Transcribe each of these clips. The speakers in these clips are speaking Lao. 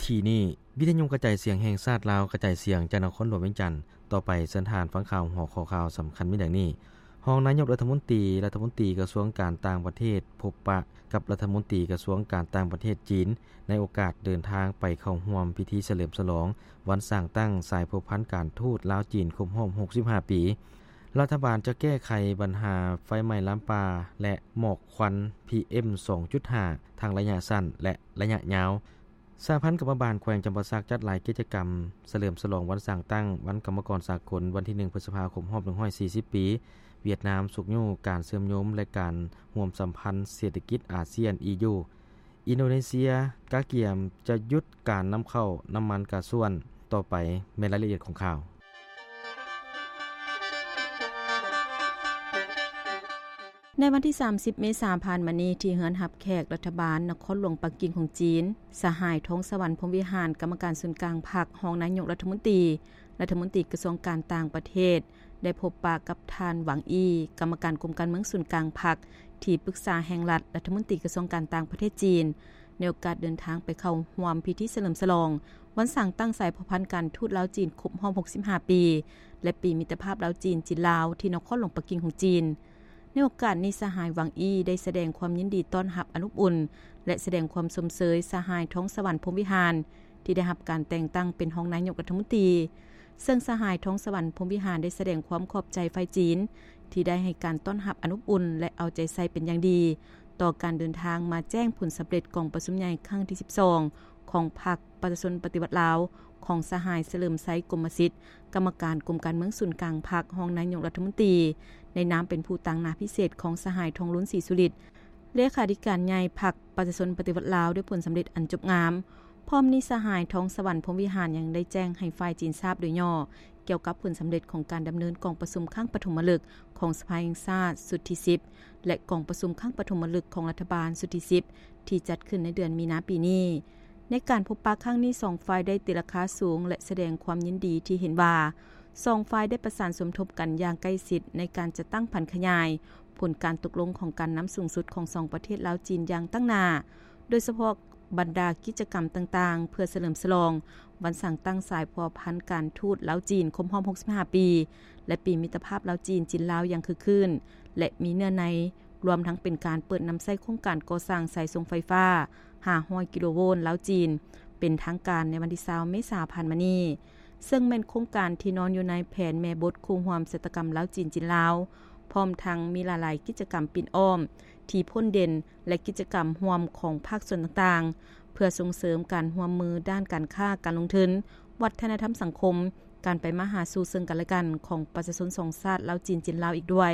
ທີ່ນີ້ ວິທະຍຸກະຈາຍສຽງແຫ່ງຊາດລາວ ກະຈາຍສຽງຈາກນະຄອນຫຼວງວຽງຈັນ. ຕໍ່ໄປເຊີນທ່ານຟັງຂ່າວຫົວຂໍ້ຂ່າວສຳຄັນມີດັ່ງນີ້: ຮອງນາຍົກລັດຖະມົນຕີ, ລັດຖະມົນຕີກະຊວງການຕ່າງປະເທດ ພົບປະກັບລັດຖະມົນຕີກະຊວງການຕ່າງປະເທດຈີນ ໃນໂອກາດເດີນທາງໄປເຂົ້າຮ່ວມພິທີສະເຫຼີມສະຫຼອງວັນສ້າງຕັ້ງສາຍພົວພັນການທູດລາວ-ຈີນຄົບຮອບຫົກສິບຫ້າປີ. ລັດຖະບານຈະແກ້ໄຂບັນຫາໄຟໄໝ້ລາມປ່າ ແລະ ໝອກຄວັນ ພີເອັມ ສອງຈຸດຫ້າ ທັງໄລຍະສັ້ນ ແລະ ໄລຍະຍາວ. ສະຫະພັນກຳມະບານແຂວງຈຳປາສັກຈັດຫຼາຍກິດຈະກຳສະເຫຼີມສະຫຼອງວັນສ້າງຕັ້ງວັນກຳມະກອນສາກົນ ວັນທີໜຶ່ງ ພຶດສະພາ ຄົບຮອບໜຶ່ງຮ້ອຍສີ່ສິບປີ. ຫວຽດນາມຊຸກຍູ້ການເຊື່ອມໂຍງ ແລະ ການຮ່ວມສຳພັນເສດຖະກິດອາຊຽນ ອີຢູ. ອິນໂດເນເຊຍກະກຽມຈະຢຸດການນຳເຂົ້ານ້ຳມັນກາຊວນ. ຕໍ່ໄປແມ່ນລາຍລະອຽດຂອງຂ່າວ. ໃນວັນທີສາມສິບ ເມສາຜ່ານມານີ້ ທີ່ເຮືອນຮັບແຂກລັດຖະບານນະຄອນຫຼວງປັກກິ່ງຂອງຈີນ, ສະຫາຍ ທອງສະຫວັນ ພົມວິຫານ ກຳມະການສູນກາງພັກ, ຮອງນາຍົກລັດຖະມົນຕີ, ລັດຖະມົນຕີກະຊວງການຕ່າງປະເທດ ໄດ້ພົບປະກັບທ່ານ ຫວັງ ອີ ກຳມະການກົມການເມືອງສູນກາງພັກ, ທີ່ປຶກສາແຫ່ງລັດ, ລັດຖະມົນຕີກະຊວງການຕ່າງປະເທດຈີນ, ໃນໂອກາດເດີນທາງໄປເຂົ້າຮ່ວມພິທີສະເຫຼີມສະຫຼອງວັນສ້າງຕັ້ງສາຍພົວພັນການທູດລາວ-ຈີນຄົບຮອບຫົກສິບຫ້າປີ ແລະ ປີມິດຕະພາບລາວ-ຈີນ, ຈີນ-ລາວ ທີ່ນະຄອນຫຼວງປັກກິ່ງຂອງຈີນ. ໃນໂອກາດນີ້ ສະຫາຍ ຫວັງ ອີ ໄດ້ສະແດງຄວາມຍິນດີຕ້ອນຮັບອັນອົບອຸ່ນ ແລະ ສະແດງຄວາມຊົມເຊີຍສະຫາຍ ທອງສະຫວັນ ພົມວິຫານ ທີ່ໄດ້ຮັບການແຕ່ງຕັ້ງເປັນຮອງນາຍົກລັດຖະມົນຕີ, ເຊິ່ງສະຫາຍ ທອງສະຫວັນ ພົມວິຫານ ໄດ້ສະແດງຄວາມຂອບໃຈຝ່າຍຈີນ ທີ່ໄດ້ໃຫ້ການຕ້ອນຮັບອັນອົບອຸ່ນ ແລະ ເອົາໃຈໃສ່ເປັນຢ່າງດີຕໍ່ການເດີນທາງມາແຈ້ງຜົນສຳເລັດກອງປະຊຸມໃຫຍ່ຄັ້ງທີສິບສອງ ຂອງພັກ ປະຊາຊົນປະຕິວັດລາວ ຂອງສະຫາຍ ສະເຫຼີມໄຊ ກົມມະສິດ ກຳມະການກົມການເມືອງສູນກາງພັກ, ຮອງນາຍົກລັດຖະມົນຕີ, ໃນນາມເປັນຜູ້ຕາງໜ້າພິເສດຂອງສະຫາຍ ທອງລຸນ ສີສຸລິດ ເລຂາທິການໃຫຍ່ພັກປະຊາຊົນປະຕິວັດລາວ ດ້ວຍຜົນສຳເລັດອັນຈົບງາມ. ພ້ອມນີ້ ສະຫາຍ ທອງສະຫວັນ ພົມວິຫານ ຍັງໄດ້ແຈ້ງໃຫ້ຝ່າຍຈີນຊາບໂດຍຫຍໍ້ ກ່ຽວກັບຜົນສຳເລັດຂອງການດຳເນີນກອງປະຊຸມຄັ້ງປະຖົມມະລຶກຂອງສະພາແຫ່ງຊາດຊຸດທີສິບ ແລະ ກອງປະຊຸມຄັ້ງປະຖົມມະລຶກຂອງລັດຖະບານຊຸດທີສິບ ທີ່ຈັດຂຶ້ນໃນເດືອນມີນາປີນີ້. ໃນການພົບປະຄັ້ງນີ້ ສອງຝ່າຍໄດ້ຕີລາຄາສູງ ແລະ ສະແດງຄວາມຍິນດີທີ່ເຫັນວ່າ ສອງຝ່າຍໄດ້ປະສານສົມທົບກັນຢ່າງໃກ້ຊິດໃນການຈັດຕັ້ງຜັນຂະຫຍາຍຜົນການຕົກລົງຂອງການນຳສູງສຸດຂອງສອງປະເທດລາວ-ຈີນຢ່າງຕັ້ງໜ້າ, ໂດຍສະເພາະບັນດາກິດຈະກຳຕ່າງໆ ເພື່ອສະເຫຼີມສະຫຼອງວັນສ້າງຕັ້ງສາຍພົວພັນການທູດລາວ-ຈີນຄົບຮອບຫົກສິບຫ້າປີ ແລະ ປີມິດຕະພາບລາວ-ຈີນ, ຈີນ-ລາວ ຢ່າງຄຶກຄື້ນ ແລະ ມີເນື້ອໃນ, ລວມທັງເປັນການເປີດນຳໃຊ້ໂຄງການກໍ່ສ້າງສາຍສົ່ງໄຟຟ້າຫ້າຮ້ອຍກິໂລໂວນລາວ-ຈີນ ເປັນທາງການໃນວັນທີຊາວ ເມສາ ຜ່ານມານີ້, ເຊິ່ງແມ່ນໂຄງການທີ່ນອນຢູ່ໃນແຜນແມ່ບົດຄູ່ຮ່ວມຊະຕາກຳລາວ-ຈີນ, ຈີນ-ລາວ, ພ້ອມທັງມີຫຼາຍໆກິດຈະກຳປິ່ນອ້ອມທີ່ພົ້ນເດັ່ນ ແລະ ກິດຈະກຳຮ່ວມຂອງພາກສ່ວນຕ່າງໆ ເພື່ອສົ່ງເສີມການຮ່ວມມືດ້ານການຄ້າ, ການລົງທຶນ, ວັດທະນະທຳສັງຄົມ, ການໄປມາຫາສູ່ເຊິ່ງກັນແລະກັນຂອງປະຊາຊົນສອງຊາດລາວ-ຈີນ, ຈີນ-ລາວ ອີກດ້ວຍ.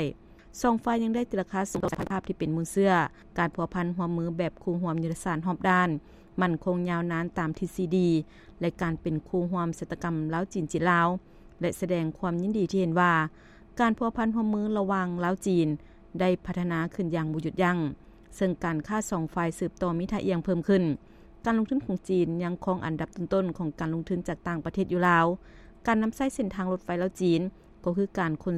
ສອງຝ່າຍຍັງໄດ້ຕີລາຄາສູງຕໍ່ສະພາບທີ່ເປັນມູນເຊື້ອການພົວພັນຮ່ວມມືແບບຄູ່ຮ່ວມຍຸດທະສາດຮອບດ້ານ, ໝັ້ນຄົງຍາວນານຕາມທິດສີ່ດີ ແລະ ການເປັນຄູ່ຮ່ວມຊະຕາກຳລາວ-ຈີນ, ຈີນ-ລາວ ແລະ ສະແດງຄວາມຍິນດີທີ່ເຫັນວ່າ ການພົວພັນຮ່ວມມືລະຫວ່າງລາວ-ຈີນ ໄດ້ພັດທະນາຂຶ້ນຢ່າງບໍ່ຢຸດຢັ້ງ, ເຊິ່ງການຄ້າສອງຝ່າຍສືບຕໍ່ມີທ່າອ່ຽງເພີ່ມຂຶ້ນ. ການລົງທຶນຂອງຈີນຍັງຄອງອັນດັບຕົ້ນໆຂອງການລົງທຶນຈາກຕ່າງປະເທດຢູ່ລາວ. ການນຳໃຊ້ເສັ້ນທາງລົດໄຟລາວ-ຈີນ ກໍຄືການຂົນ